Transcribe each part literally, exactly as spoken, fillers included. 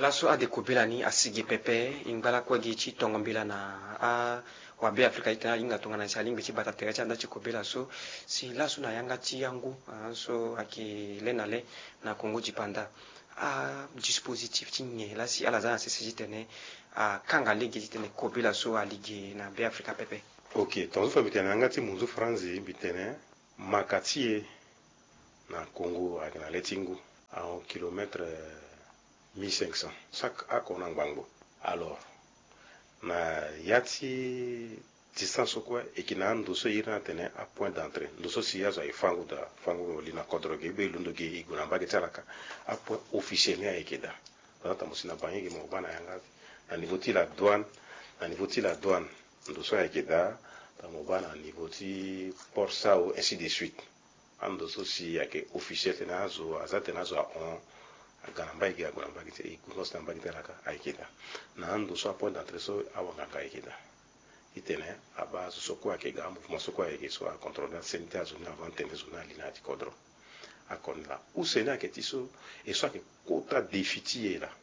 Laso ade kobela ni asi ge pepe, e ngba lakue gi ti tongo mbela na awabe Afrika ti tene ahinga tongana si alingbi ti bata tere ti anda ti kobela so. Si laso na yanga ti yangu, ah, so ayeke le na le na Congo dipanda, adispositif ti nyen laa si ala za na sese ti tene akanga lege ti tene kobela so ali ge na be Afrika pepe? Ok, tongaso fa mbi tene na yanga ti munzu franzi, mbi tene maka ti e na Congo ayeke na le ti ngu, ahon kilomètre mille cinq cents, chaque ako na ngbangbo. Alors, na ya ti distance so kue, e yeke na ando so e iri ni atene apoint d'entrée, ndo so si azo aye fango daa, fango mo li na kodro ge, be londo ge, e gue na mbage ti ala kâ. Apoint officiel ni ayeke daa. Aza tambula si na Bangi ge, mo baa na yanga, na niveau ti la douane, na niveau ti la douane, ndo so ayeke daa. Tambula mo baa na niveau ti Port Sao, ainsi de suite. Ando so si ayeke officiel tene azo aza tene azo ahon, aga na mbage ge, ague na mbage ti, e gue na mbage ti ala kâ, ayeke daa. Na ando so apoint d'entrée so awanganga ayeke daa. Ti tene abaa azo so kue ayeke ga, amouvement so kue ayeke so acontrôle na seni ti azo ni avant tene zo ni ali na ya ti kodro. Akoni laa use ni ayeke ti so, e so ayeke kota défi ti e laa.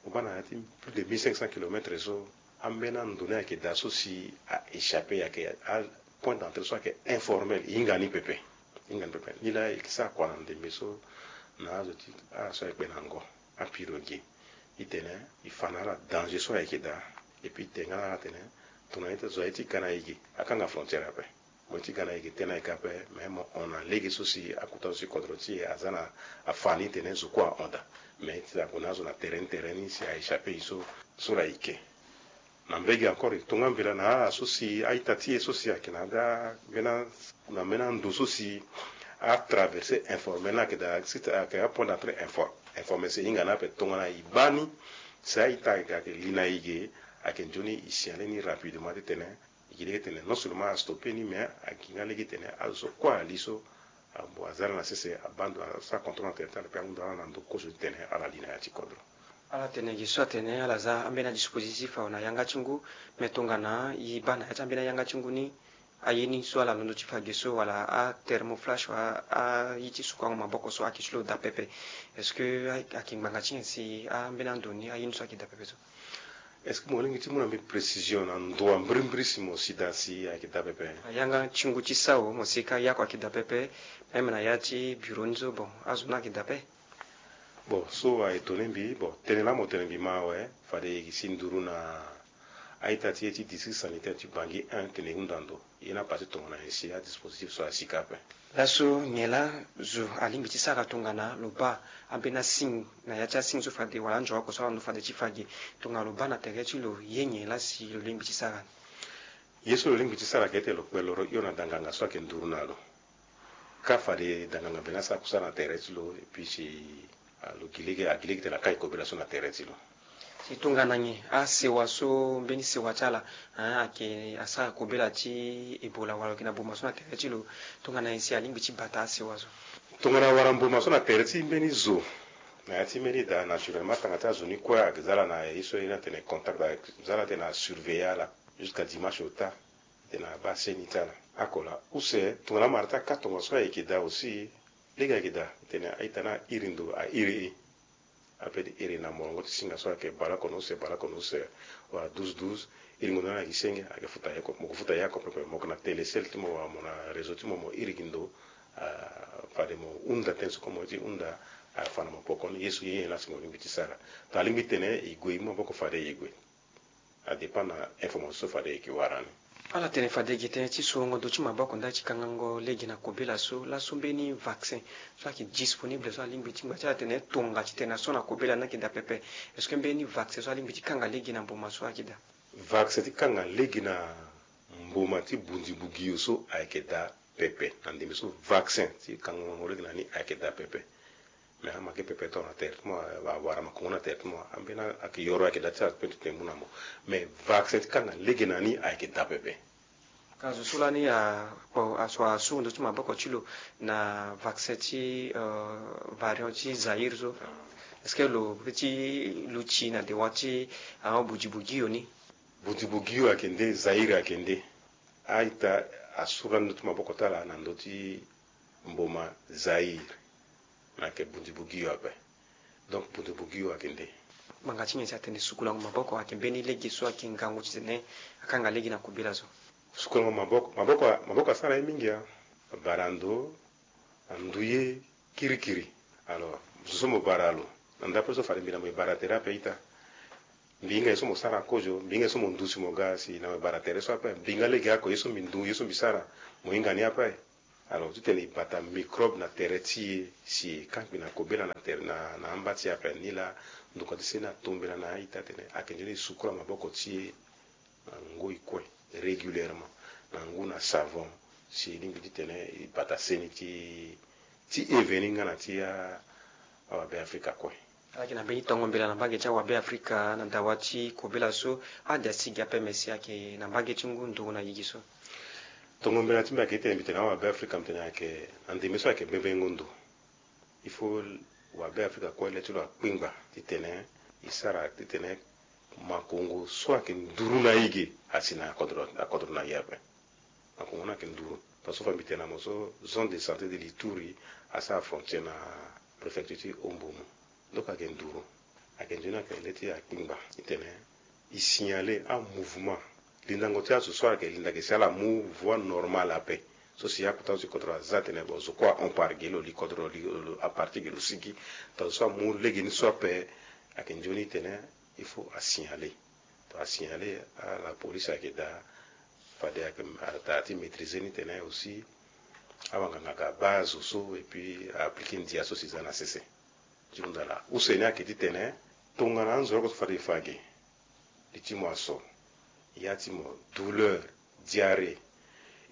Mo baa na ya ti plus de mille cinq cents kilomètres so, ambeni ando ni ayeke daa so si a échappé, ayeke apoint d'entrée so ayeke informel, e hinga ni pepe. E hinga ni pepe. Ni laa e yeke sara kua na ndembe so na azo ti ala so ayeke kpe na ngo, apirogue, ti tene e fa na ala danger so ayeke daa. Et puis e tene nga na ala atene, tongana ye ti zo aye ti ga na e ge, akanga frontière ape. Mo ye ti ga na e ge, tene ayeke ape, mais mo hon na lege so si akota so si kodro ti e aza na afa ni tene zo kue ahon daa. Mais ti ague na azo na tere ni, tere ni si a échappé e so, so laa e ke. Na mbage encore, e tonga mbela na ala so si a-ita ti e so si ayeke na daa mbeni, na mbeni ando so si atraversé informel ni ayeke daa, si ayeke apoint d'entrée infor-, informel, si e hinga ni ape, tongana e baa ni si a-ita ayeke li na e ge, ayeke nzoni e signalé ni rapidement ti tene e gi lege tene non seulement astoppé ni, mais a gi nga lege tene azo so kue ali so, ah, bon, aza ala na sese, abaa ndo, asara contrôle na tere ti ala, pe ahunda ala na ndo kozo ti tene ala li na ya ti kodro. Ala tene gi so atene ala za ambeni adispositif awe na yanga ti ngu, mais tongana e baa na ya ti ambeni ayanga ti ngu ni, aye ni so ala londo ti fa ge so, wala athermoflash, wala aye ti sukuango maboko so ayeke ti lo daa pepe. Est-ce que a, ayeke ngbanga ti nyen si ambeni ando ni aye ni so ayeke daa pepe so? Est-ce que mo lingbi ti mu na mbi précision na ndo wa mbirimbiri si mo si daa si ayeke daa pepe? Na yanga ti ngu ti Sao, mo si ka ya oko ayeke daa pepe, même na ya ti bureau ni so, bon, azo ni ayeke daa pepe. Bon, so a étonné mbi, bon, tënë laa mo tene mbi ma awe, fade e si nduru na a-ita ti e ti district sanitaire ti Bangui un tene e hunda ndo. Ye ni apasé tongana nyen si adispositif so asi ka ape? Laso nyen laa zo alingbi ti sara tongana lo baa ambeni asigne na ya ti asigne so fade, wala anzoro oko so ala ndo fade ti fa ge, tongana lo baa na tere ti lo, ye nyen laa si lo lingbi ti sara ni? Ye so lo lingbi ti sara ayeke ti tene lo kpe loro hio na danganga so ayeke nduru na lo. Ka fade danganga mbeni asara kusala na tere ti lo, et puis si, ah, lo gi lege, a gi lege tene akai kobela so na tere ti lo. Si tongana nyen asewa so, mbeni sewa ti ala, ah, ayeke asara kobela ti Ebola wala lo yeke na mboma so na tere ti lo, tongana nyen si alingbi ti bata asewa so? Tongana awara mboma so na tere ti mbeni zo, na ya ti mbeni daa, naturellement atanga ti azo ni kue ayeke za ala na ye so e iri ni atene contact, ayeke za ala ti tene asurveiller ala jusqu'à dimanche au tard, ti tene abaa seni ti ala. Oko laa, use tongana amara ti aka tongaso ayeke daa aussi, lege ayeke daa ti tene a-ita ni airi ndo, airi e. Ape ti iri na molongo ti singa so ayeke baleoko na use, baleoko na use, wala douze douze, iringo ndo ni na gi senge, ayeke futa ye oko, mo yeke futa ye oko pepe, mo yeke na Telecel ti mo wala mo na réseau ti mo, mo iri gi ndo, ah, fade mo hunda tënë so kue mo ye ti hunda, ah, fa na mo poko ni, ye so ye nyen laa si mo lingbi ti sara. Tongana alingbi ti tene e gue, e mu maboko fade e gue. A dépend na information so fade e yeke wara ni. Ala tene fade e gi tënë ti sorongo ndo ti maboko ndali ti kangango lege na kobela so. Laso mbeni vaccin so ayeke disponible so alingbi ti ngba ti ala tene tonga ti tene na so na kobela ni ayeke daa pepe? Est-ce que mbeni vaccin so alingbi ti kanga lege na mboma so ayeke daa? Vaccin ti kanga lege na mboma ti bunzi-bugio so ayeke daa pepe. Na ndembe so vaccin ti kangango lege na ni ayeke daa pepe. Mais amake pepe tongana tere ti mo, awara makongo na tere ti mo, ambeni ayeke yoro ayeke daa ti ala pepe ti tene mu na mo. Mais vaccin ti kanga lege na ni ayeke daa pepe. Ka zo so lani akpo, aso asuru ndo ti maboko ti lo na vaccin ti, euh, variant ti Zaïre so. Est-ce que lo peut ti luti na dewa ti, ah, bunzi-bugio ni? Bunzi-bugio ayeke nde, Zaïre ayeke nde. A-ita asuru lani ndo ti maboko ti ala na ndo ti mboma Zaïre. Na yeke bunzi-bugio ape. Donc bunzi-bugio ayeke nde. Ngbanga ti nyen si atene sukulango maboko ayeke mbeni lege so ayeke ngangu titene akanga lege na kobela so? Sukulango maboko, maboko, maboko asara ye mingi, a bara ndo, anduye, kirikiri. Alors zo so mo bara lo na ndapre so fade mbi na mo e bara tere ape ita. Mbi hinga ye so mo sara kozo, mbi hinga ye so mo ndusi mo ga si na mo e bara tere so ape. Mbi hinga lege ako ye so mbi ndu, ye so mbi sara, mo hinga ni ape. Alors titene e bata microbe na tere ti e si e kangbi na kobela na tere na, na amba ti e ape. Ni laa ndokua ti seni atombela na a-ita atene ayeke nzoni e sukula maboko ti e na ngoi kue, régulièrement, na ngu na savon, si e lingbi titene e bata seni ti, ti e veni nga na ti a, awabe afrika kue. Ala yeke na mbeni tongo mbela na mbage ti awabe afrika na dawa ti kobela so, ade asi gi ape me si ayeke na mbage ti ngu nduru na gigi so. Tongo mbela ti mbi ayeke titene mbi tene awabe afrika mbi tene ayeke na ndembe so ayeke bembengo ndo. Il faut wabe afrika kue le ti lo akpingba titene e sara titene makongo so ayeke nduru na e ge asi na akodro, akodro na e ape. Makongo ni ayeke nduru. Parce que fa mbi tene na mo so, zone de santé de l'Ituri asara frontière na préfecture ti Ombomo. Donc ayeke nduru. Ayeke nzoni ayeke le ti akpingba titene e signaler amouvement, lindango ti azo so ayeke linda ge si ala mu voie normale ape. So si akota zo ti kodro aza atene bon zo kue ahon par ge lo li kodro lo li, lo, lo, apartir ge lo sigi. Tongana zo so amu legeni so ape, ayeke nzoni titene il faut asignaler. Tongana asignaler, ala police ayeke daa, fade ayeke daa ti maîtriser ni titene aussi awanganga aga abaa zo so et puis a appliquer ndia so si e za na sese. Ti hunda laa use ni ayeke titene tongana anzoroko so fade e fa ge, li ti mo aso, ya ti mo, douleur, diarrhée.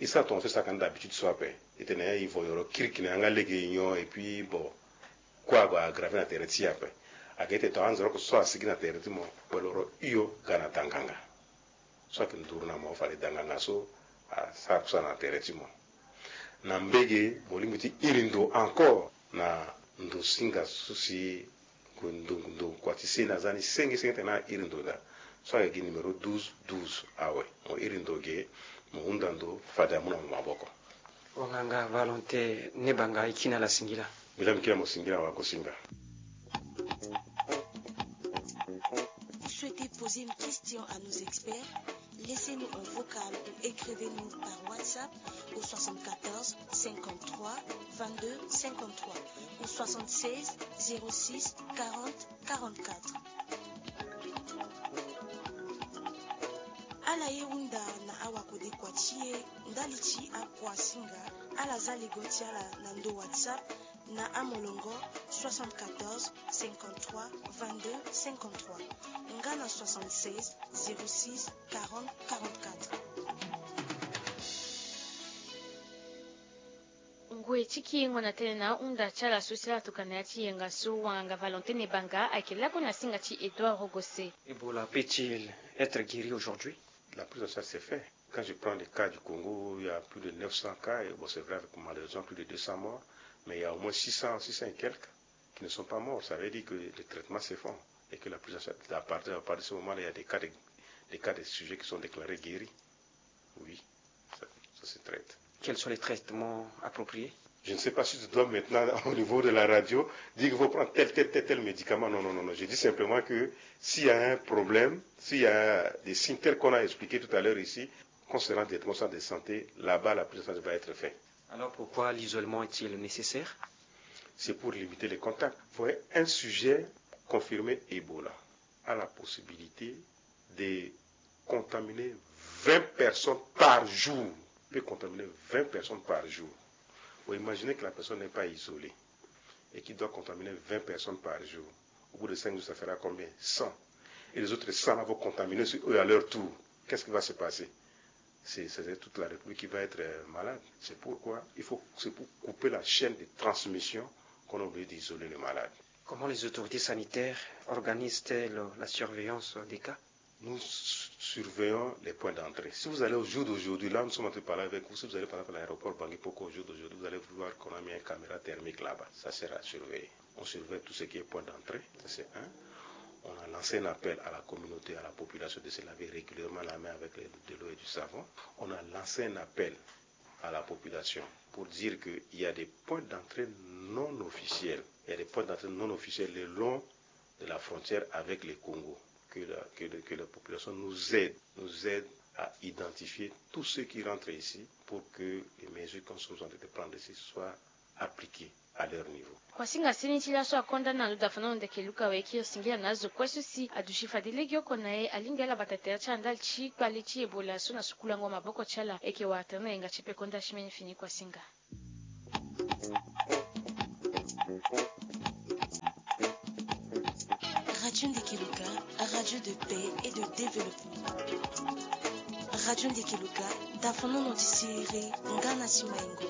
E sara tongaso e sara ka ni d'habitude so ape. E tene e voyoro kirikiri na yanga lege e nyon et puis bon, kue ague aggraver na tere ti e ape. Ayeke titene tongana anzoroko so asigi na tere ti mo, kpeloro hio ga na danganga. So ayeke nduru na mo fade danganga so asara kusala na tere ti mo. Na mbege mo lingbi ti iri ndo encore na ndo singa so si ndo, ndo kua ti seni aza ni senge senge tene na iri ndo daa. So ayeke gi numéro douze douze awe. Mo iri ndo ge, mo hunda ndo fade amu na mo maboko. Wanganga Valentin Nebanga, e kiri na ala singila. Mbi laa mbi kiri na mo singila, wagosinga. Vous souhaitez poser une question à nos experts ? Laissez-nous un vocal ou écrivez-nous par WhatsApp au soixante-quatorze cinquante-trois vingt-deux cinquante-trois ou soixante-seize zéro six quarante quarante-quatre. Ala ye hunda na awakodekua ti e ndali ti akua singa. Ala za lego ti ala na ndo WhatsApp na amolongo soixante-quatorze cinquante-trois vingt-deux cinquante-trois nga na soixante-seize zéro six quarante quarante-quatre. Ngoi ti kiringo na tënë na ahunda ti ala so si ala tokua na ya ti yenga so, wanganga Valentin Nebanga ayeke lakue na singa ti Edouard Rogose. Ebola peut-il être guéri aujourd'hui ? La prise en charge s'est faite. Quand je prends le cas du Congo, il y a plus de neuf cents cas, et bon, c'est vrai, avec malheureusement plus de deux cents morts, mais il y a au moins six cents, six cents et quelques qui ne sont pas morts. Ça veut dire que les traitements se font et que la prise en charge, à partir, à partir de ce moment-là, il y a des cas de, des cas de sujets qui sont déclarés guéris. Oui, ça, ça se traite. Quels sont les traitements appropriés ? Je ne sais pas si je dois maintenant, au niveau de la radio, dire qu'il faut prendre tel, tel, tel, tel médicament. Non, non, non, non. Je dis simplement que s'il y a un problème, s'il y a des signes tels qu'on a expliqué tout à l'heure ici, qu'on se rend directement au centre de santé, là-bas, la prise en charge va être faite. Alors pourquoi l'isolement est-il nécessaire ? C'est pour limiter les contacts. Vous voyez, un sujet confirmé Ebola a la possibilité de contaminer vingt personnes par jour. Il peut contaminer vingt personnes par jour. Vous imaginez que la personne n'est pas isolée et qu'il doit contaminer vingt personnes par jour. Au bout de cinq jours, ça fera combien ? Cent. Et les autres cent là vont contaminer sur eux à leur tour. Qu'est-ce qui va se passer ? C'est, c'est toute la République qui va être euh, malade. C'est pourquoi il faut, c'est pour couper la chaîne de transmission qu'on a obligé d'isoler le malade. Comment les autorités sanitaires organisent-elles la surveillance des cas ? Nous surveillons les points d'entrée. Si vous allez au jour d'aujourd'hui, là nous sommes en train de parler avec vous, si vous allez par exemple à l'aéroport Bangui Poko au jour d'aujourd'hui, vous allez voir qu'on a mis une caméra thermique là-bas. Ça sera surveillé. On surveille tout ce qui est point d'entrée, ça c'est un. On a lancé un appel à la communauté, à la population de se laver régulièrement la main avec de l'eau et du savon. On a lancé un appel à la population pour dire qu'il y a des points d'entrée non officiels. Il y a des points d'entrée non officiels le long de la frontière avec le Congo, que la, que le, que la population nous aide, nous aide à identifier tous ceux qui rentrent ici pour que les mesures qui sont en train de prendre ici soient appliquées à leur niveau. Kuasinga seni ti laso akonda na ndo dafa na ndo ndeke luka weke osingila na azo kue so si adusi fade legeoko na ye alingbi ala bata tere ti ala ndali ti kpale ti ebola so na sukulango maboko ti ala eke wara tere na yenga ti pekonda ti mbeni fini kuasinga. Radio Ndekeluka, radio de paix et de développement. Radio Ndekeluka, dafonono ti siriri nga na ti maingo.